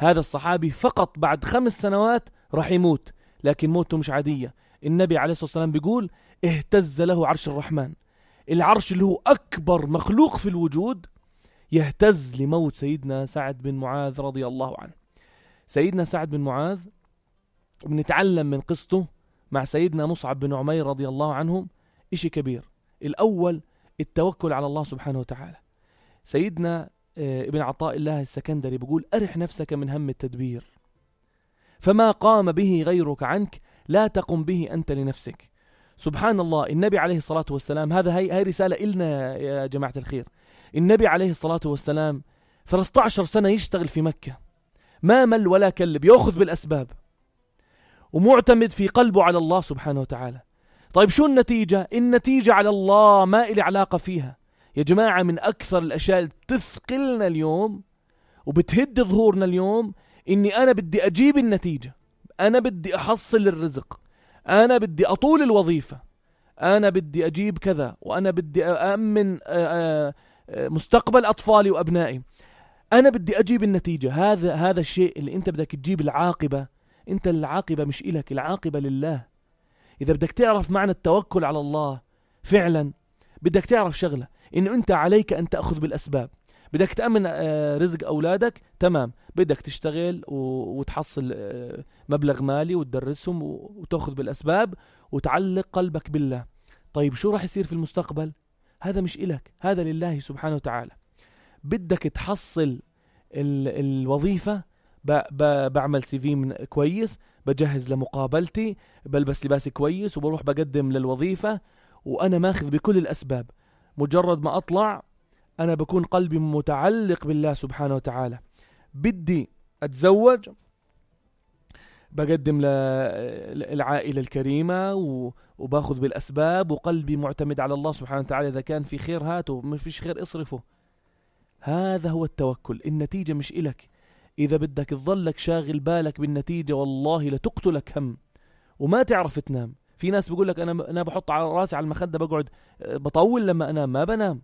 هذا الصحابي فقط بعد 5 سنوات راح يموت، لكن موته مش عادية. النبي عليه الصلاة والسلام بيقول اهتز له عرش الرحمن، العرش اللي هو أكبر مخلوق في الوجود يهتز لموت سيدنا سعد بن معاذ رضي الله عنه. سيدنا سعد بن معاذ بنتعلم من قصته مع سيدنا مصعب بن عمير رضي الله عنهم إشي كبير. الأول التوكل على الله سبحانه وتعالى. سيدنا ابن عطاء الله السكندري بيقول أرح نفسك من هم التدبير، فما قام به غيرك عنك لا تقم به أنت لنفسك. سبحان الله. النبي عليه الصلاة والسلام، هاي رسالة إلنا يا جماعة الخير. النبي عليه الصلاة والسلام 13 سنة يشتغل في مكة، ما مل ولا كلب، يأخذ بالأسباب ومعتمد في قلبه على الله سبحانه وتعالى. طيب شو النتيجة؟ النتيجة على الله، ما إلي علاقة فيها. يا جماعة من أكثر الأشياء اللي بتثقلنا اليوم وبتهد ظهورنا اليوم إني أنا بدي أجيب النتيجة، أنا بدي أحصل الرزق، أنا بدي أطول الوظيفة، أنا بدي أجيب كذا، وأنا بدي أأمن مستقبل أطفالي وأبنائي، أنا بدي أجيب النتيجة. هذا الشيء اللي أنت بدك تجيب العاقبة. أنت العاقبة مش إلك، العاقبة لله. إذا بدك تعرف معنى التوكل على الله فعلا، بدك تعرف شغلة، إنه أنت عليك أن تأخذ بالأسباب. بدك تأمن رزق أولادك، تمام، بدك تشتغل وتحصل مبلغ مالي وتدرسهم وتأخذ بالأسباب وتعلق قلبك بالله. طيب شو راح يصير في المستقبل؟ هذا مش إلك، هذا لله سبحانه وتعالى. بدك تحصل الوظيفة، بعمل CV كويس، بجهز لمقابلتي، بلبس لباسي كويس وبروح بقدم للوظيفة وأنا ماخذ بكل الأسباب. مجرد ما أطلع أنا بكون قلبي متعلق بالله سبحانه وتعالى. بدي أتزوج، بقدم للعائلة الكريمة وباخذ بالأسباب وقلبي معتمد على الله سبحانه وتعالى. إذا كان في خير هاته، ما فيش خير اصرفه. هذا هو التوكل. النتيجة مش إلك. إذا بدك تظلك شاغل بالك بالنتيجة والله لتقتلك هم وما تعرف تنام. في ناس بيقول لك أنا بحط على راسي على المخدة بقعد بطول لما أنام، ما بنام،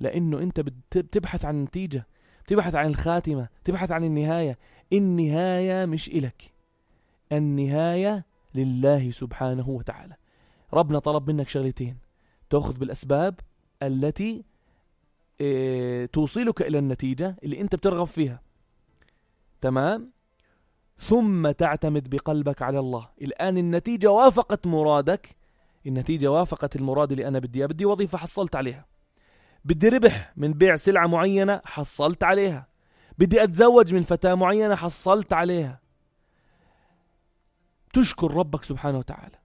لأنه أنت بتبحث عن النتيجة، بتبحث عن الخاتمة، بتبحث عن النهاية. النهاية مش إلك، النهاية لله سبحانه وتعالى. ربنا طلب منك شغلتين: تأخذ بالأسباب التي توصلك إلى النتيجة اللي أنت بترغب فيها، تمام، ثم تعتمد بقلبك على الله. الآن النتيجة وافقت مرادك، النتيجة وافقت المراد اللي أنا بدي وظيفة حصلت عليها، بدي ربح من بيع سلعة معينة حصلت عليها، بدي أتزوج من فتاة معينة حصلت عليها. تشكر ربك سبحانه وتعالى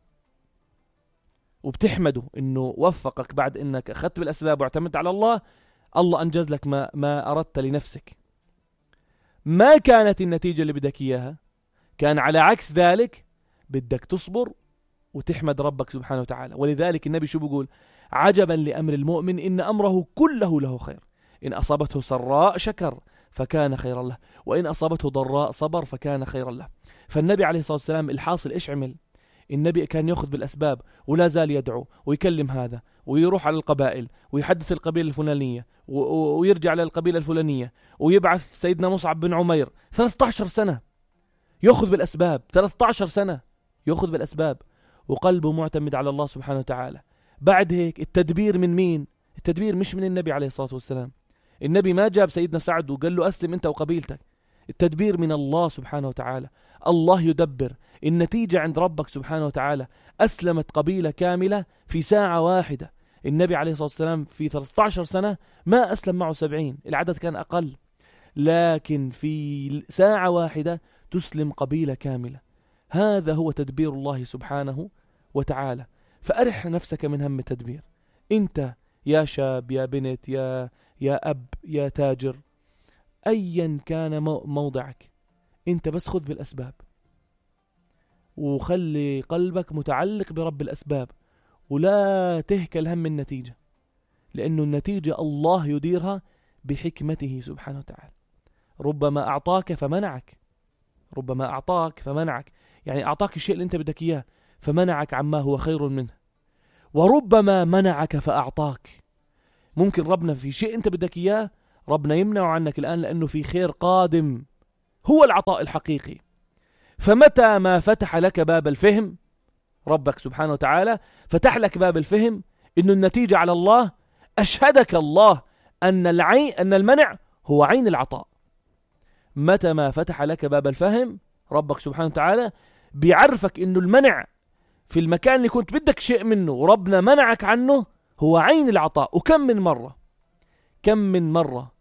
وبتحمده إنه وفقك بعد إنك أخذت بالأسباب واعتمدت على الله. الله أنجز لك ما أردت لنفسك. ما كانت النتيجة اللي بدك إياها، كان على عكس ذلك، بدك تصبر وتحمد ربك سبحانه وتعالى. ولذلك النبي شو بيقول؟ عجبا لأمر المؤمن إن أمره كله له خير، إن أصابته سراء شكر فكان خيرا له، وإن أصابته ضراء صبر فكان خيرا له. فالنبي عليه الصلاة والسلام الحاصل إيش عمل؟ النبي كان يأخذ بالأسباب ولا زال يدعو ويكلم هذا ويروح على القبائل ويحدث القبيلة الفلانية ويرجع للقبيلة الفلانية ويبعث سيدنا مصعب بن عمير 13 سنة يأخذ بالأسباب، 13 سنة يأخذ بالأسباب وقلبه معتمد على الله سبحانه وتعالى. بعد هيك التدبير من مين؟ التدبير مش من النبي عليه الصلاة والسلام. النبي ما جاب سيدنا سعد وقال له أسلم أنت وقبيلتك. التدبير من الله سبحانه وتعالى. الله يدبر. النتيجة عند ربك سبحانه وتعالى. أسلمت قبيلة كاملة في ساعة واحدة. النبي عليه الصلاة والسلام في 13 سنة ما أسلم معه 70، العدد كان أقل، لكن في ساعة واحدة تسلم قبيلة كاملة. هذا هو تدبير الله سبحانه وتعالى. فأرح نفسك من هم التدبير. أنت يا شاب، يا بنت، يا أب، يا تاجر، أيا كان موضعك، أنت بس خذ بالأسباب وخلي قلبك متعلق برب الأسباب، ولا تهكل هم النتيجة، لأنه النتيجة الله يديرها بحكمته سبحانه وتعالى. ربما أعطاك فمنعك، ربما أعطاك فمنعك، يعني أعطاك الشيء اللي أنت بدك إياه فمنعك عما هو خير منه، وربما منعك فأعطاك. ممكن ربنا في شيء أنت بدك إياه ربنا يمنعه عنك الآن لأنه في خير قادم هو العطاء الحقيقي. فمتى ما فتح لك باب الفهم، ربك سبحانه وتعالى فتح لك باب الفهم إنه النتيجة على الله، أشهدك الله أن المنع هو عين العطاء. متى ما فتح لك باب الفهم، ربك سبحانه وتعالى بيعرفك إنه المنع في المكان اللي كنت بدك شيء منه وربنا منعك عنه هو عين العطاء. وكم من مرة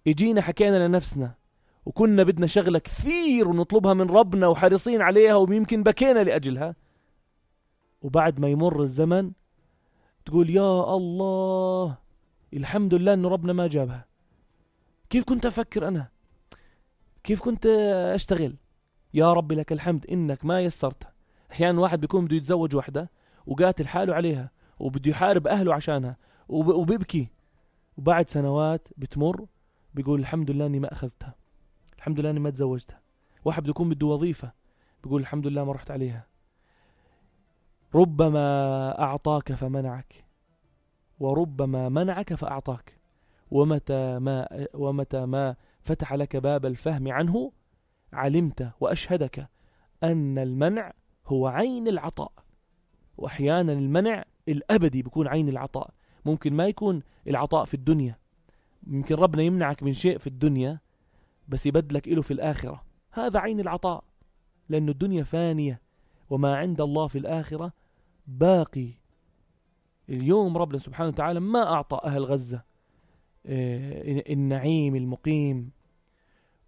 اجينا حكينا لنفسنا وكنا بدنا شغلة كثير ونطلبها من ربنا وحريصين عليها ويمكن بكينا لأجلها، وبعد ما يمر الزمن تقول يا الله الحمد لله انه ربنا ما جابها. كيف كنت افكر انا؟ كيف كنت اشتغل؟ يا ربي لك الحمد انك ما يسرتها. احيانا واحد بيكون بده يتزوج وحده وقاتل حاله عليها وبده يحارب اهله عشانها وبيبكي، وبعد سنوات بتمر بيقول الحمد لله اني ما اخذتها، الحمد لله اني ما تزوجتها. واحد بده يكون بده وظيفة بيقول الحمد لله ما رحت عليها. ربما اعطاك فمنعك، وربما منعك فاعطاك. ومتى ما فتح لك باب الفهم عنه علمت واشهدك ان المنع هو عين العطاء. واحيانا المنع الابدي بيكون عين العطاء. ممكن ما يكون العطاء في الدنيا، ممكن ربنا يمنعك من شيء في الدنيا بس يبدلك إله في الآخرة، هذا عين العطاء، لأن الدنيا فانية وما عند الله في الآخرة باقي. اليوم ربنا سبحانه وتعالى ما أعطى أهل غزة النعيم المقيم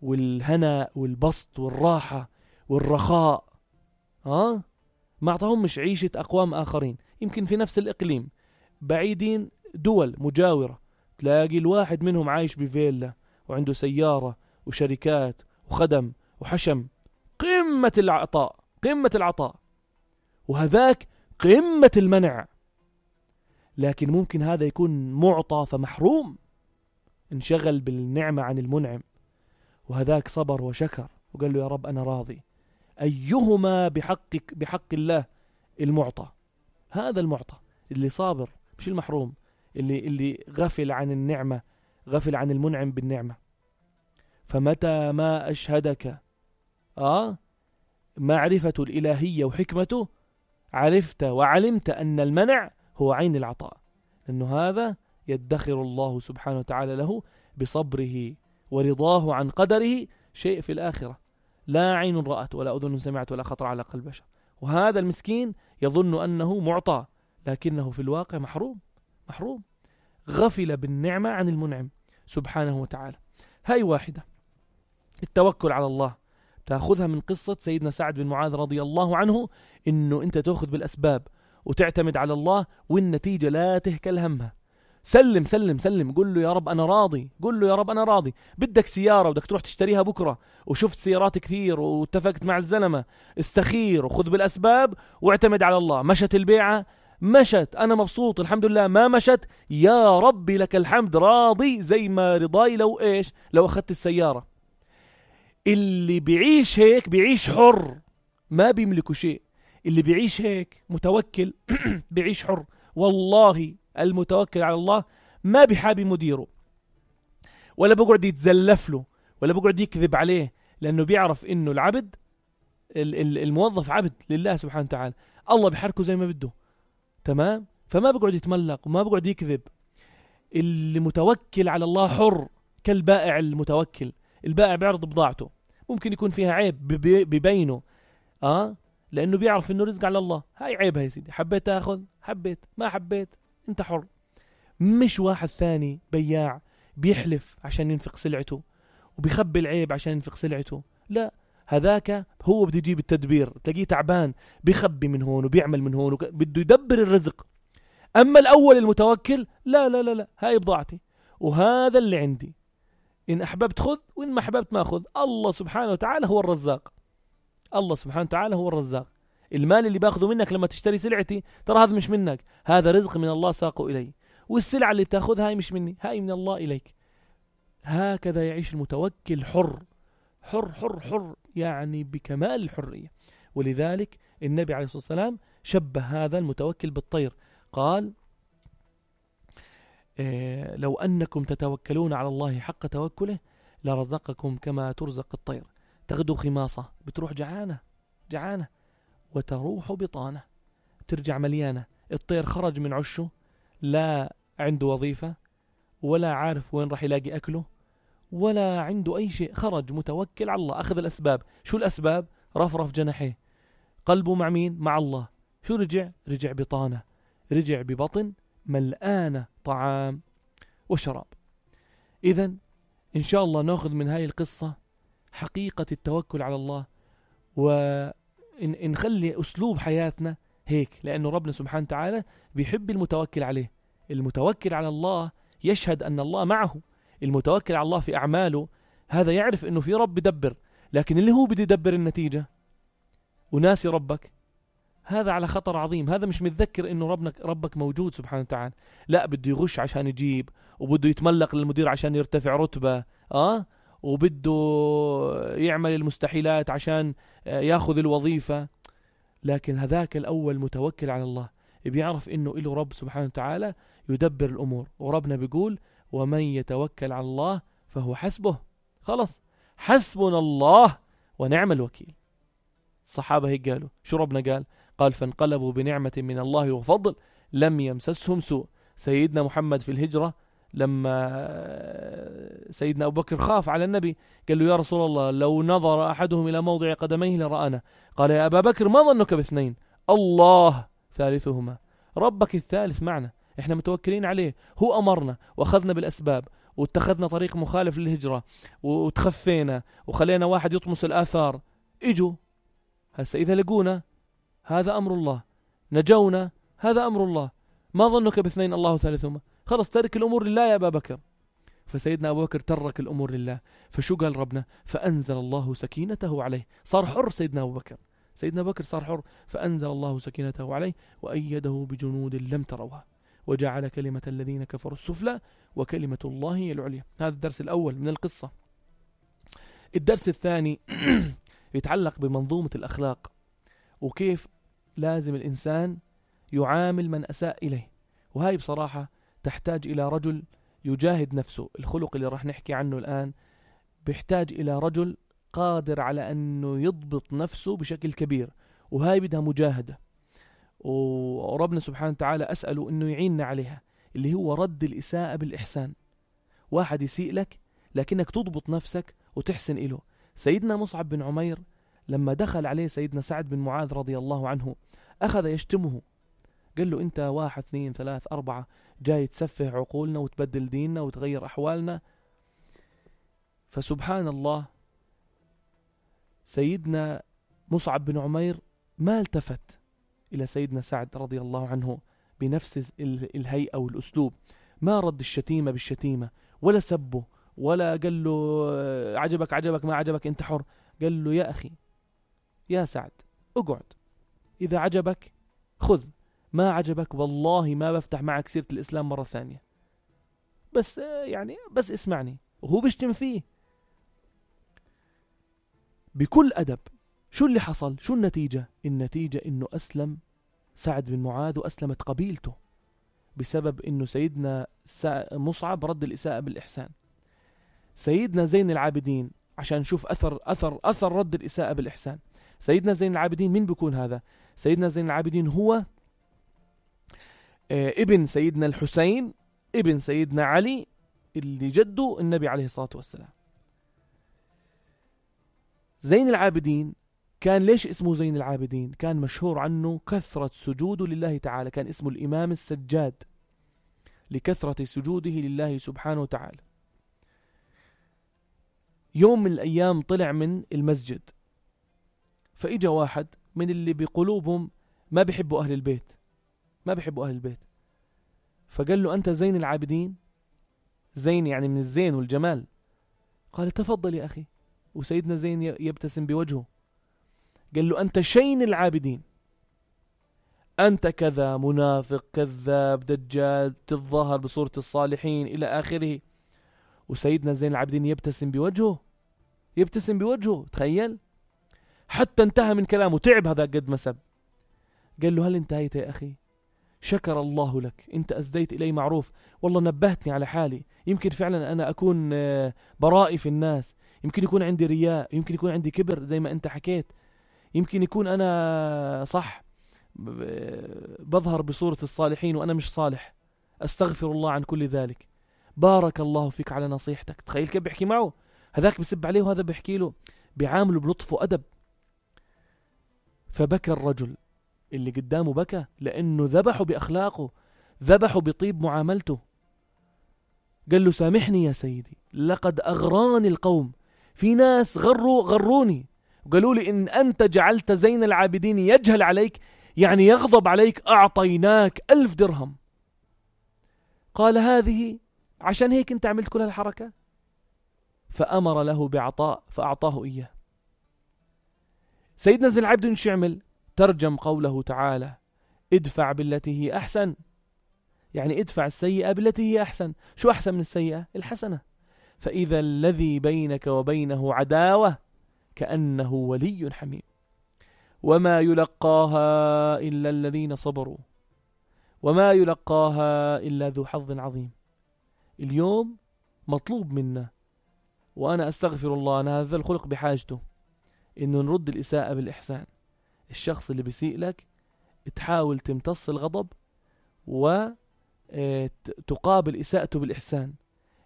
والهناء والبسط والراحة والرخاء، ما أعطاهم مش عيشة أقوام آخرين يمكن في نفس الإقليم بعيدين، دول مجاورة، تلاقي الواحد منهم عايش بفيلا وعنده سيارة وشركات وخدم وحشم. قمة العطاء، قمة العطاء، وهذاك قمة المنع. لكن ممكن هذا يكون معطى فمحروم، انشغل بالنعمة عن المنعم، وهذاك صبر وشكر وقال له يا رب أنا راضي. أيهما بحق الله المعطى، هذا المعطى اللي صابر مش المحروم، اللي غفل عن النعمة، غفل عن المنعم بالنعمة. فمتى ما أشهدك معرفة الإلهية وحكمته عرفت وعلمت أن المنع هو عين العطاء، لأنه هذا يدخر الله سبحانه وتعالى له بصبره ورضاه عن قدره شيء في الآخرة لا عين رأت ولا أذن سمعت ولا خطر على قلب بشر. وهذا المسكين يظن أنه معطى لكنه في الواقع محروم، غفل بالنعمة عن المنعم سبحانه وتعالى. هاي واحدة. التوكل على الله تأخذها من قصة سيدنا سعد بن معاذ رضي الله عنه، إنه أنت تأخذ بالأسباب وتعتمد على الله والنتيجة لا تهكل همها. سلم سلم سلم، قل له يا رب أنا راضي، قل له يا رب أنا راضي. بدك سيارة بدك تروح تشتريها بكرة وشفت سيارات كثير واتفقت مع الزلمة، استخير وخذ بالأسباب واعتمد على الله. مشت البيعة، مشت، أنا مبسوط الحمد لله. ما مشت، يا ربي لك الحمد، راضي زي ما رضاي لو أخذت السيارة. اللي بيعيش هيك بيعيش حر، ما بيملكوا شيء. اللي بيعيش هيك متوكل بيعيش حر. والله المتوكل على الله ما بيحابي مديره ولا بقعد يتزلف له ولا بقعد يكذب عليه، لأنه بيعرف إنه العبد الموظف عبد لله سبحانه وتعالى، الله بيحركه زي ما بده، تمام؟ فما بقعد يتملق وما بقعد يكذب. اللي متوكل على الله حر كالبائع المتوكل. البائع بيعرض بضاعته، ممكن يكون فيها عيب ببينه لأنه بيعرف إنه رزق على الله. هاي عيبها يا سيدي، حبيت تأخذ، حبيت ما حبيت أنت حر. مش واحد ثاني بياع بيحلف عشان ينفق سلعته وبيخبي العيب عشان ينفق سلعته، لا، هذاك هو بده يجيب التدبير، تلاقيه تعبان بيخبي من هون وبيعمل من هون بده يدبر الرزق. أما الأول المتوكل لا لا لا لا، هاي بضاعتي وهذا اللي عندي، إن أحببت خذ وإن ما أحببت ما أخذ. الله سبحانه وتعالى هو الرزاق، الله سبحانه وتعالى هو الرزاق. المال اللي باخذه منك لما تشتري سلعتي ترى هذا مش منك، هذا رزق من الله ساقه إلي، والسلعة اللي بتاخذها هاي مش مني، هاي من الله إليك. هكذا يعيش المتوكل، حر حر حر حر، يعني بكمال الحرية. ولذلك النبي عليه الصلاة والسلام شبه هذا المتوكل بالطير، قال لو أنكم تتوكلون على الله حق توكله لرزقكم كما ترزق الطير تغدو خماصة، بتروح جعانة وتروح بطانة، ترجع مليانة. الطير خرج من عشه، لا عنده وظيفة ولا عارف وين راح يلاقي أكله ولا عنده أي شيء، خرج متوكل على الله، أخذ الأسباب. شو الأسباب؟ رفرف جناحيه، قلبه مع مين؟ مع الله. شو رجع بطانة، رجع ببطن ملآنة طعام وشراب. إذن إن شاء الله نأخذ من هاي القصة حقيقة التوكل على الله، ونخلي أسلوب حياتنا هيك، لأنه ربنا سبحانه وتعالى بيحب المتوكل عليه. المتوكل على الله يشهد أن الله معه، المتوكل على الله في أعماله هذا يعرف أنه في رب بدبر، لكن اللي هو بده يدبر النتيجة وناسي ربك، هذا على خطر عظيم. هذا مش متذكر أنه ربك موجود سبحانه وتعالى، لا بده يغش عشان يجيب، وبده يتملق للمدير عشان يرتفع رتبة، وبده يعمل المستحيلات عشان ياخذ الوظيفة. لكن هذاك الأول متوكل على الله، بيعرف إنه إله رب سبحانه وتعالى يدبر الأمور، وربنا بيقول ومن يتوكل على الله فهو حسبه. خلص، حسبنا الله ونعم الوكيل. الصحابة هيك قالوا. شو ربنا قال فانقلبوا بنعمة من الله وفضل لم يمسسهم سوء. سيدنا محمد في الهجرة لما سيدنا أبو بكر خاف على النبي، قال له يا رسول الله لو نظر أحدهم إلى موضع قدميه لرآنا. قال يا أبا بكر ما ظنك باثنين، الله ثالثهما. ربك الثالث معنا، احنا متوكلين عليه، هو أمرنا وأخذنا بالأسباب واتخذنا طريق مخالف للهجرة وتخفينا وخلينا واحد يطمس الآثار، اجوا هسا إذا لقونا هذا أمر الله، نجونا هذا أمر الله، ما ظنك باثنين الله ثالثهما. خلص ترك الأمور لله يا أبا بكر. فسيدنا أبو بكر ترك الأمور لله، فشو قال ربنا؟ فأنزل الله سكينته عليه، صار حر سيدنا أبو بكر. سيدنا أبو بكر صار حر، فأنزل الله سكينته عليه وأيده بجنود لم تروها وجعل كلمة الذين كفروا السفلى وكلمة الله هي العليا. هذا الدرس الأول من القصة. الدرس الثاني يتعلق بمنظومة الأخلاق، وكيف لازم الإنسان يعامل من أساء إليه. وهاي بصراحة تحتاج إلى رجل يجاهد نفسه. الخلق اللي راح نحكي عنه الآن بيحتاج إلى رجل قادر على أنه يضبط نفسه بشكل كبير، وهاي بدها مجاهدة، وربنا سبحانه وتعالى أسأله أنه يعيننا عليها، اللي هو رد الإساءة بالإحسان. واحد يسيء لك لكنك تضبط نفسك وتحسن إله. سيدنا مصعب بن عمير لما دخل عليه سيدنا سعد بن معاذ رضي الله عنه أخذ يشتمه، قال له أنت 1 2 3 4 جاي تسفه عقولنا وتبدل ديننا وتغير أحوالنا. فسبحان الله سيدنا مصعب بن عمير ما التفت إلى سيدنا سعد رضي الله عنه بنفس الهيئة والأسلوب، ما رد الشتيمة بالشتيمة ولا سبه ولا قال له عجبك ما عجبك أنت حر. قال له يا أخي يا سعد اقعد، إذا عجبك خذ، ما عجبك والله ما بفتح معك سيرة الإسلام مرة ثانية، بس اسمعني. وهو بيشتم فيه بكل أدب. شو اللي حصل؟ شو النتيجة؟ النتيجة إنه أسلم سعد بن معاذ وأسلمت قبيلته بسبب إنه سيدنا مصعب رد الإساءة بالإحسان. سيدنا زين العابدين، عشان نشوف أثر رد الإساءة بالإحسان. سيدنا زين العابدين مين بيكون هذا؟ سيدنا زين العابدين هو ابن سيدنا الحسين ابن سيدنا علي اللي جده النبي عليه الصلاة والسلام. زين العابدين كان ليش اسمه زين العابدين؟ كان مشهور عنه كثرة سجوده لله تعالى، كان اسمه الإمام السجاد لكثرة سجوده لله سبحانه وتعالى. يوم من الأيام طلع من المسجد، فإجا واحد من اللي بقلوبهم ما بيحبوا أهل البيت، فقال له أنت زين العابدين؟ زين يعني من الزين والجمال. قال تفضل يا أخي. وسيدنا زين يبتسم بوجهه، قال له أنت شين العابدين، أنت كذا منافق كذاب دجال تتظاهر بصورة الصالحين إلى آخره. وسيدنا زين العابدين يبتسم بوجهه. تخيل، حتى انتهى من كلامه، تعب هذا قد ما سب. قال له هل انتهيت يا أخي؟ شكر الله لك، أنت أسديت إلي معروف، والله نبهتني على حالي، يمكن فعلا أنا أكون برائي في الناس، يمكن يكون عندي رياء، يمكن يكون عندي كبر زي ما أنت حكيت، يمكن يكون أنا صح بظهر بصورة الصالحين وأنا مش صالح، أستغفر الله عن كل ذلك، بارك الله فيك على نصيحتك. تخيل كيف بيحكي معه، هذاك بيسب عليه وهذا بيحكي له، بيعامله بلطف وأدب. فبكى الرجل اللي قدامه، بكى لأنه ذبحه بأخلاقه، ذبحه بطيب معاملته. قال له سامحني يا سيدي، لقد أغراني القوم، في ناس غروني وقالوا لي إن أنت جعلت زين العابدين يجهل عليك، يعني يغضب عليك، أعطيناك 1000 درهم. قال هذه عشان هيك أنت عملت كل هالحركة؟ فأمر له بعطاء فأعطاه إياه. سيدنا زين العابدين شو يعمل؟ ترجم قوله تعالى ادفع بالتي هي أحسن، يعني ادفع السيئة بالتي هي أحسن. شو أحسن من السيئة؟ الحسنة. فإذا الذي بينك وبينه عداوة كأنه ولي حميم، وما يلقاها إلا الذين صبروا وما يلقاها إلا ذو حظ عظيم. اليوم مطلوب منا، وأنا أستغفر الله، أنا هذا الخلق بحاجته، إنه نرد الإساءة بالإحسان. الشخص اللي بيسيء لك تحاول تمتص الغضب وتقابل إساءته بالإحسان.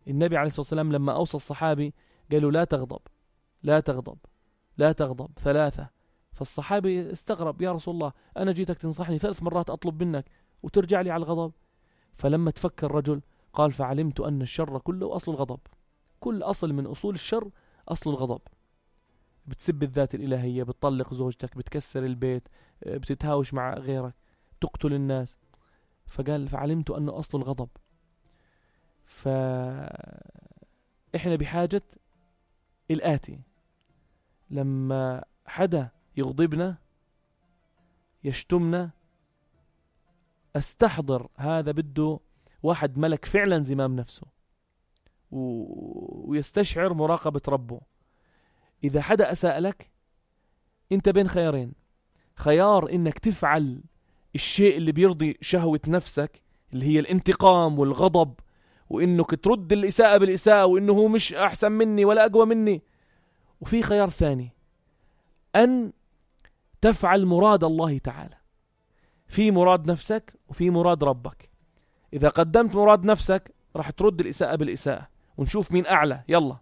النبي عليه الصلاة والسلام لما أوصى الصحابي قالوا لا تغضب لا تغضب لا تغضب 3، فالصحابي استغرب، يا رسول الله أنا جيتك تنصحني 3 مرات أطلب منك وترجع لي على الغضب. فلما تفكر الرجل قال فعلمت أن الشر كله أصل الغضب، كل أصل من أصول الشر أصل الغضب. بتسب الذات الإلهية، بتطلق زوجتك، بتكسر البيت، بتتهاوش مع غيرك، تقتل الناس. فقال فعلمت أنه أصل الغضب. فإحنا بحاجة الآتي، لما حدا يغضبنا يشتمنا استحضر هذا بده واحد ملك فعلا زمام نفسه ويستشعر مراقبة ربه. إذا حدا أساء لك أنت بين خيارين، خيار إنك تفعل الشيء اللي بيرضي شهوة نفسك اللي هي الانتقام والغضب، وإنك ترد الإساءة بالإساءة، وإنه هو مش أحسن مني ولا أقوى مني. وفي خيار ثاني، أن تفعل مراد الله تعالى. في مراد نفسك وفي مراد ربك. إذا قدمت مراد نفسك راح ترد الإساءة بالإساءة ونشوف مين أعلى، يلا.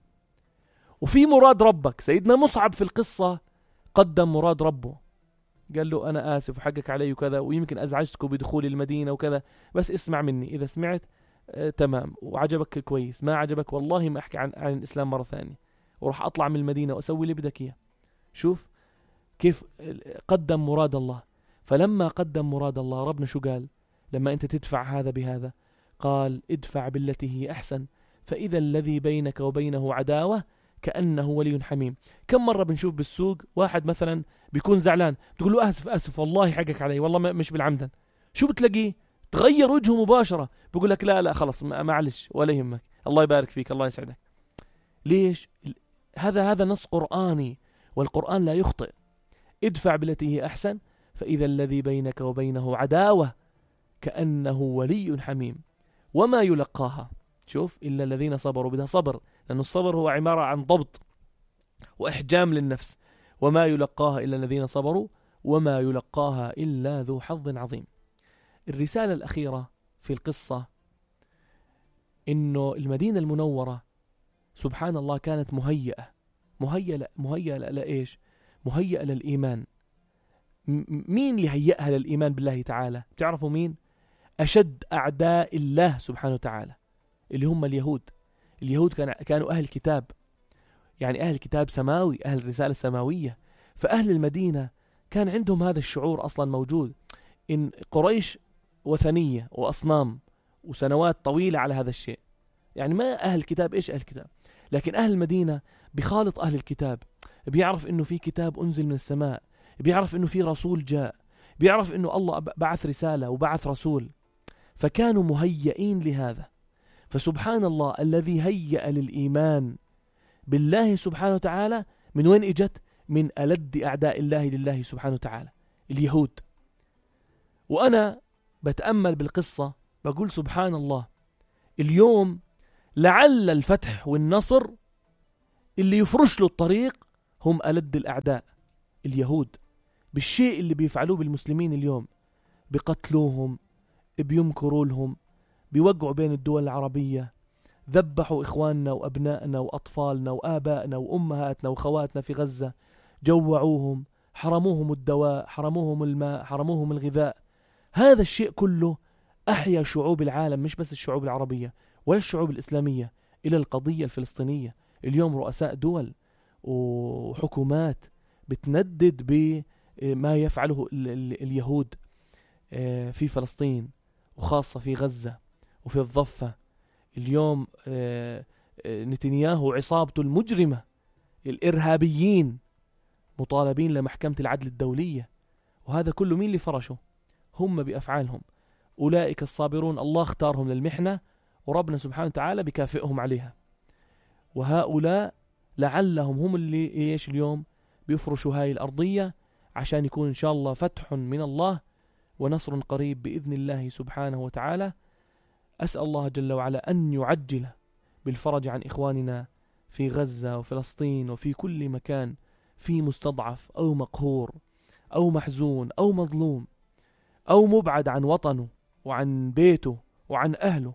وفي مراد ربك. سيدنا مصعب في القصة قدم مراد ربه، قال له أنا آسف وحقك علي وكذا، ويمكن أزعجتكم بدخول المدينة وكذا، بس اسمع مني، إذا سمعت تمام وعجبك كويس، ما عجبك والله ما أحكي عن الإسلام مرة ثانية، وراح أطلع من المدينة وأسوي اللي بدك إياه. شوف كيف قدم مراد الله. فلما قدم مراد الله ربنا شو قال؟ لما أنت تدفع هذا بهذا قال ادفع بالتي هي أحسن فإذا الذي بينك وبينه عداوة كأنه ولي حميم. كم مرة بنشوف بالسوق واحد مثلا بيكون زعلان، تقول له أسف والله حقك علي والله مش بالعمدا، شو بتلاقيه؟ تغير وجهه مباشرة، بيقول لك لا خلص معلش ولا يهمك، الله يبارك فيك، الله يسعدك. ليش؟ هذا نص قرآني، والقرآن لا يخطئ. ادفع بالتي هي أحسن فإذا الذي بينك وبينه عداوة كأنه ولي حميم وما يلقاها، شوف، إلا الذين صبروا. بدها صبر، لأن الصبر هو عبارة عن ضبط وإحجام للنفس. وما يلقاها إلا الذين صبروا وما يلقاها إلا ذو حظ عظيم. الرسالة الأخيرة في القصة إنه المدينة المنورة سبحان الله كانت مهيئة لإيش؟ مهيئة للإيمان. مين اللي هيئها للإيمان بالله تعالى؟ تعرفوا مين؟ أشد أعداء الله سبحانه وتعالى اللي هم اليهود. اليهود كانوا أهل كتاب، يعني أهل كتاب سماوي، أهل رسالة سماوية. فأهل المدينة كان عندهم هذا الشعور أصلا موجود، إن قريش وثنية وأصنام وسنوات طويلة على هذا الشيء. يعني ما أهل الكتاب، إيش أهل الكتاب؟ لكن أهل المدينة بخالط أهل الكتاب، بيعرف إنه في كتاب أنزل من السماء، بيعرف إنه في رسول جاء، بيعرف إنه الله بعث رسالة وبعث رسول، فكانوا مهيئين لهذا. فسبحان الله الذي هيأ للإيمان بالله سبحانه وتعالى من وين إجت؟ من ألد أعداء الله لله سبحانه وتعالى، اليهود. وأنا بتأمل بالقصة بقول سبحان الله، اليوم لعل الفتح والنصر اللي يفرش له الطريق هم ألد الأعداء اليهود، بالشيء اللي بيفعلوه بالمسلمين اليوم، بقتلوهم، بيمكروا لهم، بيوقعوا بين الدول العربية، ذبحوا إخواننا وأبنائنا وأطفالنا وآبائنا وأمهاتنا وخواتنا في غزة، جوعوهم، حرموهم الدواء، حرموهم الماء، حرموهم الغذاء. هذا الشيء كله أحيا شعوب العالم، مش بس الشعوب العربية ولا الشعوب الإسلامية، إلى القضية الفلسطينية. اليوم رؤساء دول وحكومات بتندد بما يفعله اليهود في فلسطين، وخاصة في غزة وفي الضفة. اليوم نتنياهو وعصابته المجرمة الإرهابيين مطالبين لمحكمة العدل الدولية، وهذا كله مين اللي فرشه؟ هم بأفعالهم. أولئك الصابرون الله اختارهم للمحنة، وربنا سبحانه وتعالى بكافئهم عليها. وهؤلاء لعلهم هم اللي إيش اليوم بيفرشوا هاي الأرضية، عشان يكون إن شاء الله فتح من الله ونصر قريب بإذن الله سبحانه وتعالى. أسأل الله جل وعلا أن يعجل بالفرج عن إخواننا في غزة وفلسطين وفي كل مكان في مستضعف أو مقهور أو محزون أو مظلوم أو مبعد عن وطنه وعن بيته وعن أهله.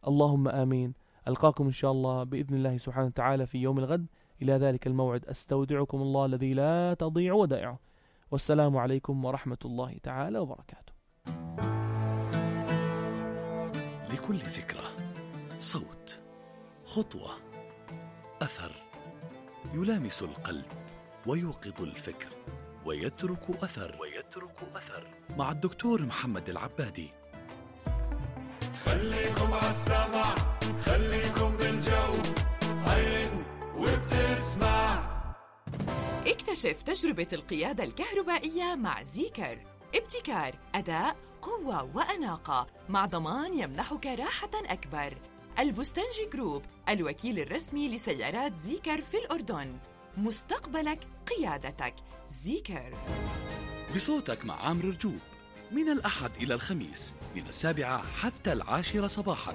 اللهم آمين. ألقاكم إن شاء الله بإذن الله سبحانه وتعالى في يوم الغد. إلى ذلك الموعد أستودعكم الله الذي لا تضيع ودائعه، والسلام عليكم ورحمة الله تعالى وبركاته. لكل فكرة صوت، خطوة، أثر يلامس القلب ويوقظ الفكر ويترك أثر مع الدكتور محمد العبادي. خليكم عالسمع، خليكم بالجو، عين وبتسمع. اكتشف تجربة القيادة الكهربائية مع زيكر. ابتكار، أداء، قوة وأناقة، مع ضمان يمنحك راحة أكبر. البستنجي جروب، الوكيل الرسمي لسيارات زيكر في الأردن. مستقبلك قيادتك. زيكر. بصوتك مع عامر رجوب، من الأحد إلى الخميس من 7 حتى 10 صباحا.